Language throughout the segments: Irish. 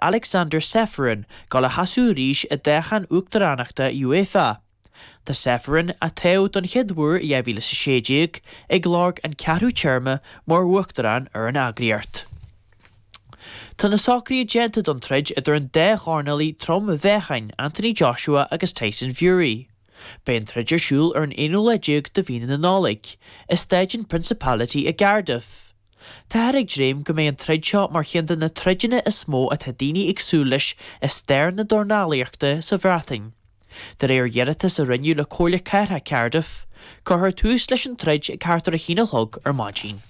Aleksander Ceferin dul a sheasamh arís i dtoghchán uachtaránachta UEFA. Tá Ceferin, a toghadh don chéad uair i 2016, ag lorg an ceathrú téarma mar uachtarán ar an eagraíocht. Tá na socruithe déanta don troid idir an dá dhornálaí trom-mheáchain, Anthony Joshua agus Tyson Fury. Beidh an troid ar siúl ar an aonú lá déag de mhí na Nollag, i Staid an Principality i gCardiff. Táthar ag dréim go mbeidh an troid seo mar cheann de na troideanna is mó atá daoine ag súil leis i stair na dornálaíochta sa Bhreatain. De réir iarratas a rinneadh le Comhairle Cathrach Cardiff, cuirfear tús leis an troid ag thart ar a haon a chlog ar maidin.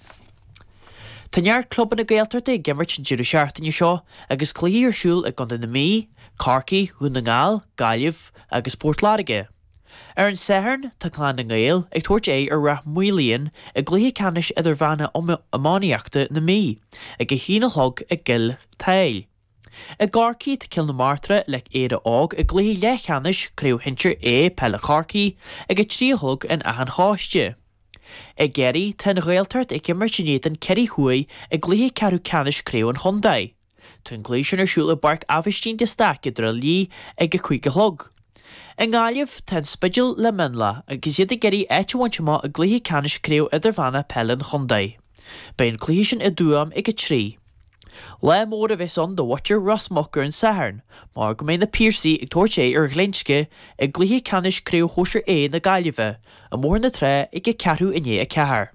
Tá neart clubanna Gaeltachta ag imirt an deireadh seachtaine seo agus cluichí ar siúl i gContae na Mí, Corcaigh, Dhún na nGall, Gaillimh agus Port Láirge. Ar an Satharn, tá Clann na nGael ag tabhairt aghaidh ar Ráth Maoláin i gcluiche ceannais idirmheánach iománaíochta na Mí, ag a haon a chlog i gCill tSáile. I gCorcaigh, tá Cill na Martra le Éire Óg i gcluiche leathcheannais Craobh Shinsir A Peile Chorcaí ag a 3 a chlog in Áth an Chóiste. I gCiarraí, tá an Ghaeltacht ag imirt in éadan Ciarraí Thuaidh i gcluiche ceathrú ceannais Craobh an Chontae. Tá an cluiche sin ar siúl i bPáirc Aibhistín de Staic i dTrá Lí ag a 5 a chlog. I nGaillimh, tá an Spidéal le Mionlach agus iad ag iarraidh áit a bhaint amach i gcluiche ceannais Craobh Idirmheánach Peile an Chontae. Beidh an cluiche sin i dTuaim ag 3. Lá mór a bheas ann do mhuintir Ros Muc ar an Satharn mar go mbeidh na Piarsaigh ag tabhairt aghaidh ar Ghlinsce i gcluiche ceannais Craobh Shóisir A na Gaillimhe i mBóthar na Trá ag a ceathrú i ndiaidh a 4.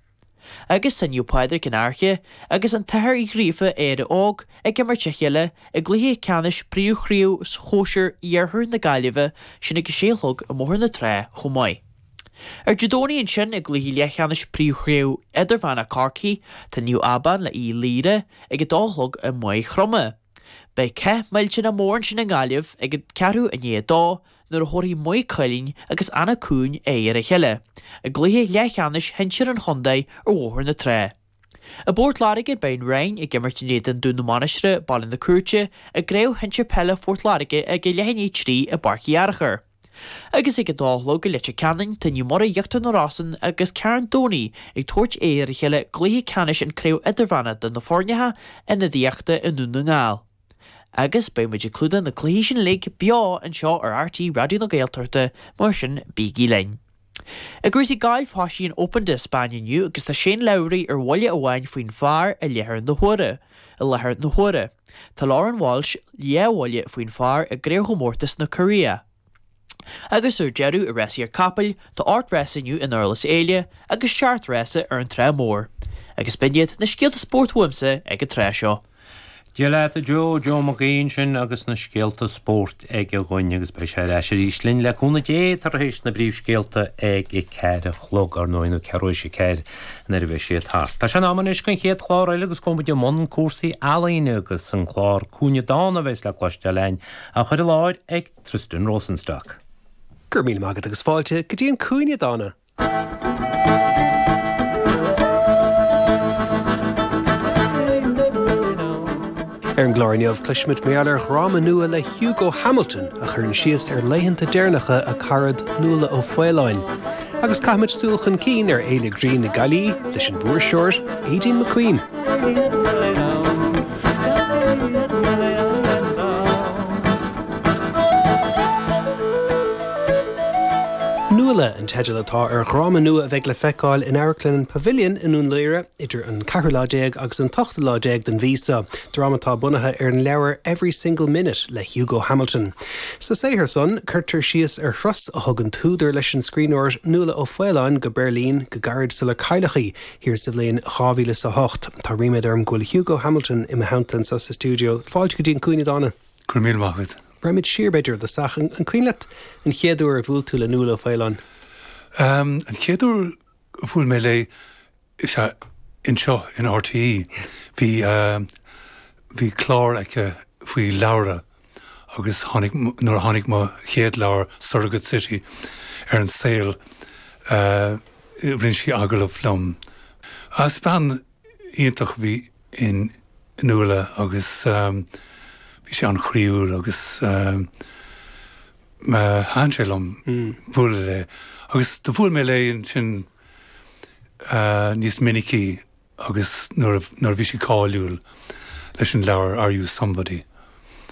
Agus tá Naomh Pádraig an Fhairche agus an tAthair Uí Ghríofa Éire Óg ag imirt a chéile i gcluiche ceannais Príomhchraobh Shóisir Iarthar na Gaillimhe, sin ag a sé a chlog i mBóthar na Trá chomh maith. Ar Dé Domhnaigh ansin i gcluiche leathcheannais Príomhchraobh Idirmheánach Chorcaí tá Naomh Abán le Uíbh Laoire ag a dó a chlog i Maigh Chromtha. Beidh cath millteanach mór ansin i nGaillimh ag ceathrú i ndiaidh a dó nuair a thabharfaidh Maigh Cuilinn agus Anach Cuain aghaidh ar a chéile i gcluiche leathcheannais shinsir an chontae ar Bhóthar na Trá. I bPort Láirge beidh an Rinn ag imirt in éadan Dún na Mainistreach, Baile na Cúirte, i gCraobh Shinsir Peile Phort Láirge ag a leath i ndiaidh a 3 i bPáirc Uí Fhearchair. Agus ag a dó a chlog i Leitir Ceanainn tá Naomh Muire Íochtar na Rosann agus Carn Domhnaigh ag tabhairt aghaidh ar a chéile i gcluiche ceannais an Craobh Idirmheánach do na foirneacha ionadaíochta i nDún na nGall. Agus beidh muid ag clúdach na cluichí sin uilig beo anseo ar RTÉ Raidió na Gaeltachta, mar sin bígí linn. I gcúrsaí gailf thosaigh an Open de Spáinn inniu agus tá Shane Lowry ar bhuille amháin faoin phar i láthair na huaire. I láthair na huaire. Tá Lauren Walsh leathbhuille faoin phar i gcraobhchomórtas na Cóiréa. Agus ar deireadh, i rásaíocht capaill, tá 8 rása inniu i nDurlas Éile agus 7 rása ar an Trá Mhór. Agus b'in iad na scéalta spóirt uaimse ag an tráth seo. Dia leat a Joe, Joe Mac Aoidh ansin agus na scéalta spóirt aige dhúinn agus beidh sé ar ais arís linn le cúnamh Dé tar éis na bpríomhscéalta ag a ceathair a chlog, ar ndóigh, nó ceathrú éis a ceathair nuair a bheidh siad thart. Tá sé in am anois don chéad chlár eile agus gabhfaidh muid i mbun cúrsaí ealaíne agus an clár Cúinne Dána a bheas le cloisteáil againn á chur i láthair ag Tristan Rosenstock. Go raibh míle maith agat agus fáilte go dtí an Cúinne Dána! Ar an gclár inniu, cloisfimid mar gheall ar dhráma nua le Hugo Hamilton a chuireann síos ar laethanta deireanacha a carad Nuala Ó Faoláin. Agus caithfimid súil chun cinn ar Fhéile Grinn na Gaillí leis an bhfuirseoir Aideen McQueen. Nuala an teideal atá ar dhráma nua a bheidh le feiceáil in Amharclann an Pavilion i nDún Laoghaire idir an ceathrú lá déag agus an t-ochtú lá déag den mhí seo, dráma atá bunaithe ar an leabhar Every Single Minute le Hugo Hamilton. Sa saothar san, cuirtear síos ar thuras a thug an t-údar leis an scríbhneoir Nuala Ó Faoláin go Beirlín go gairid sular cailleadh í thiar sa bhliain 2008. Tá ríméad orm go bhfuil Hugo Hamilton i mo theannta anseo sa stiúideo. Fáilte go dtí an Cúinne Dána. Go raibh míle maith agat. Raghaimid siar, b'fhéidir, i dtosach. An cuimhin leat an chéad uair a bhuail tú le Nuala Ó Faoláin? An chéad uair a bhuail mé léi, is ea anseo in RTÉ. Bhí, bhí clár aici faoi leabhra agus tháinig, nuair a tháinig mo chéad leabhar, Surrogate City, ar an saol, rinne sí agallamh liom. Is bean iontach a bhí in Nuala agus bhí sí an-chroíúil agus thaitin sé liom bualadh léi. Agus do bhuail mé léi ansin níos minicí agus nuair a bhí sí cáiliúil leis an leabhar Are You Somebody?